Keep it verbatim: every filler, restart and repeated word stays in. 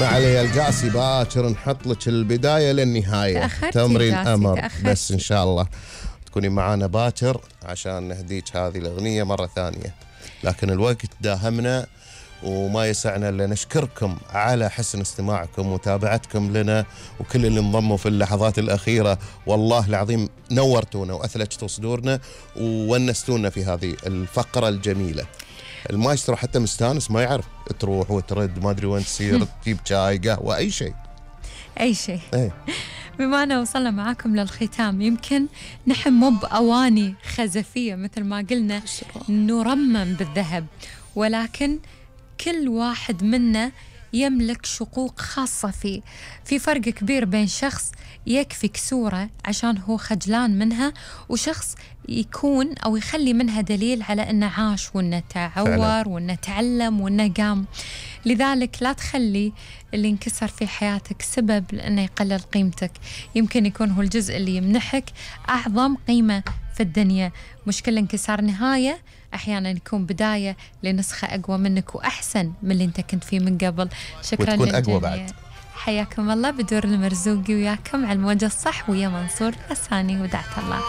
ما علي القاسي باكر نحط لك البداية للنهاية. تمرين أمر بس إن شاء الله تكوني معانا باكر عشان نهديك هذه الأغنية مرة ثانية، لكن الوقت داهمنا وما يسعنا إلا نشكركم على حسن استماعكم ومتابعتكم لنا وكل اللي انضموا في اللحظات الأخيرة. والله العظيم نورتونا وأثلجتوا صدورنا وونستونا في هذه الفقرة الجميلة. المايسترو حتى مستانس ما يعرف تروح وترد ما أدري وين تصير تجيب شاي قهوة أي شيء أي شيء. ايه. بما أننا وصلنا معاكم للختام، يمكن نحن مو بأواني خزفية مثل ما قلنا نرمم بالذهب، ولكن كل واحد منا يملك شقوق خاصة فيه. في فرق كبير بين شخص يكفي كسورة عشان هو خجلان منها، وشخص يكون أو يخلي منها دليل على أنه عاش وأنه تعور وأنه تعلم وأنه قام. لذلك لا تخلي اللي انكسر في حياتك سبب لأنه يقلل قيمتك. يمكن يكون هو الجزء اللي يمنحك أعظم قيمة في الدنيا. مش كل انكسار نهاية، أحيانا يكون بداية لنسخة أقوى منك وأحسن من اللي أنت كنت فيه من قبل. شكرا وتكون للجميع. أقوى بعد. حياكم الله. بدور المرزوقي وياكم على الموجة الصح ويا منصور الثاني ودعت الله.